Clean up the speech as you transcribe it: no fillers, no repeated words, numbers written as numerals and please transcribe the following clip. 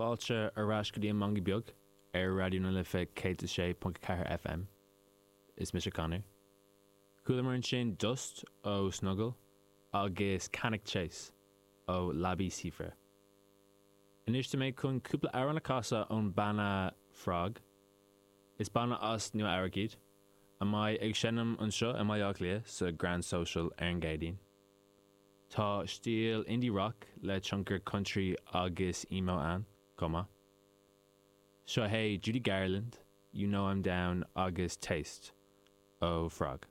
Fáilte ar ais go dtí an Mangaí Beag ar Raidió na Life 106.4 FM. Is mise Conor. Chualamar ansin Dust ó Snuggle agus Cannock Chase ó Labi Siffre. Anois tá mé chun cúpla amhrán a chasadh ón banna Frog. Is banna as Nua Eabhrac iad, a mbeidh ag seinm anseo i mBaile Átha Cliath sa Grand Social ar an gCéadaoin. Tá stíl indie rock le tionchar country agus emo ann chomh maith. Seo é Judy Garland, You Know I'm Down agus Taste ó Frog.